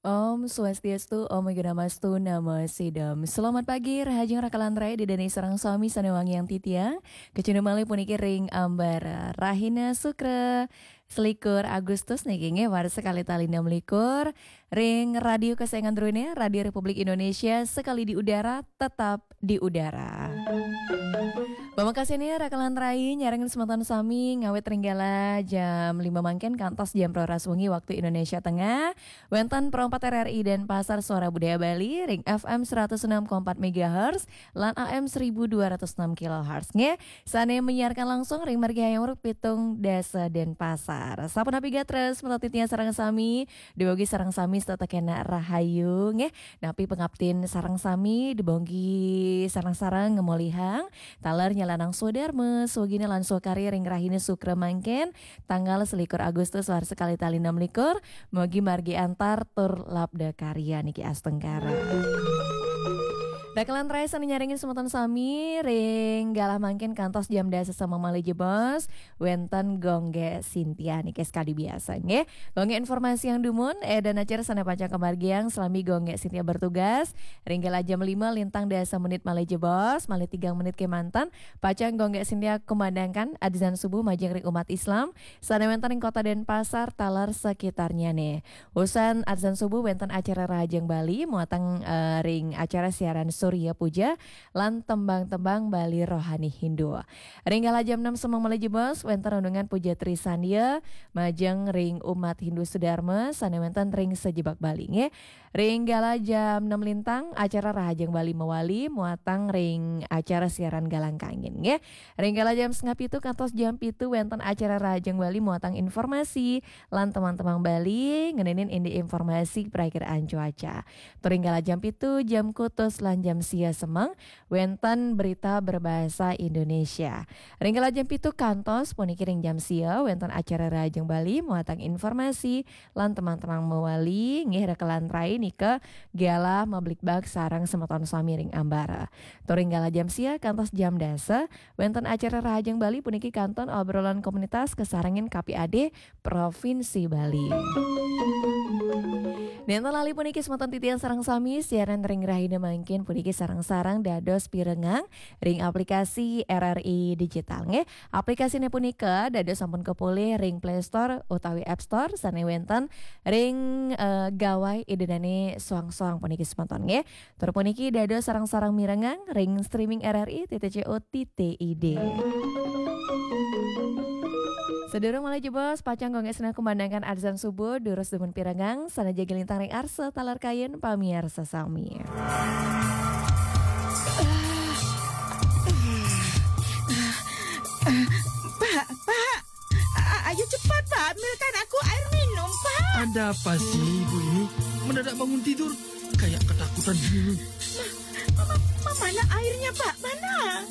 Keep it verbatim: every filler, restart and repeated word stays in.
Om Swastiastu, Om Awighnamastu, Namo Siddham. Selamat pagi, rahajeng rakalan rai, ida dané sareng sami sané wangiang titiang. Kacunduk malih puniki ring ambara rahina Sukra, selikur Agustus niki nggih, warsa kalih tali enam likur, ring Radio Kesayangan Drone, Radio Republik Indonesia, sekali di udara, tetap di udara. Pamekasina rakalan rai nyarengin semeton sami ngawit ring galah jam lima mangkin kantos jam roras wengi waktu Indonesia Tengah. Wénten Pro empat R R I Denpasar, Suara Budaya Bali, ring F M seratus enam koma empat megahertz lan A M seribu dua ratus enam kilohertz nggih. Sané menyiarkan langsung ring margi Hayam Wuruk pitung dasa Denpasar. Sapunapi gatra semeton titiang sareng sami, dumogi sareng sami setata kena rahayu nggih. Napi pangaptin sareng sami, dumogi sareng-sareng ngamolihang taler nyalanang swadarma, swagina lan swakarya ring rahina Sukra mangkin, tanggal selikur Agustus warsa kalih tali enam likur, mugi margi antar tur labda karya niki astungkara. Rakalan rai sané nyarengin semeton sami ring galah mangkin kantos jam dasa semeng malih jebos, wénten Gung Gék Sintia niki sekadi biasa nggih. Gung Gék informasiang dumun, eh, dan acara sané pacang kamargiang salami Gung Gék Sintia bertugas. Ring galah jam lima lintang dasa menit malih jebos, malih tigang menit kémanten, pacang Gung Gék Sintia kumandangkan adzan subuh majeng ring umat Islam sané wénten ring Kota Denpasar taler sekitarnyané. Usan adzan subuh wénten acara Rahajeng Bali, muatang, eh, ring acara siaran Surya Puja lan tembang-tembang Bali rohani Hindu. Ring galah jam enam semeng malih jebos, wénten renungan Puja Trisandya majeng ring umat Hindu Sudarma sané wénten ring sajebag Bali nggih. Ring galah jam enam lintang, acara Rahajeng Bali mawali, muatang ring acara siaran Galang Kangin nggih. Ring galah jam setengah pitu kantos jam pitu wénten acara Rahajeng Bali muatang informasi lan tembang-tembang Bali ngeninin indik informasi perakiraan cuaca. Tur ring galah jam pitu, jam kutus lan jam sia semeng, wénten berita berbahasa Indonesia. Ring galah jam pitu kantos puniki ring jam sia, wénten acara Rahajeng Bali muatang informasi lan tembang-tembang mawali nggih, rakalan rai nika galah mablikbak sareng semeton sami ring ambara. Tur ring galah jam sia kantos jam dasa, wénten acara Rahajeng Bali puniki kantun obrolan komunitas kasarengin K P A D Provinsi Bali. Nénten lali puniki semeton titiang sareng sami, siaran ring rahina mangkin puniki sareng-sareng dados pirengang ring aplikasi R R I Digital nggih. Aplikasiné punika dados sampun kapolih ring Play Store utawi App Store sané wénten ring, eh, gawai ida dané soang-soang puniki semeton nggih. Tur puniki dados sareng-sareng mirengang ring streaming R R I titik co titik I D. Sadurung malih jebos, pacang Gung Gék Sintia kumandangkan adzan subuh, durus dumun pirengang, sané jagi lintang ring arsa taler kayun pamiarsa sami. Pak, Pak, a- ayo cepat, Pak, ambilkan aku air minum, Pak. Ada apa sih ibu ini? Mendadak bangun tidur, kayak ketakutan gini. Ma- ma- mana airnya, Pak? Mana?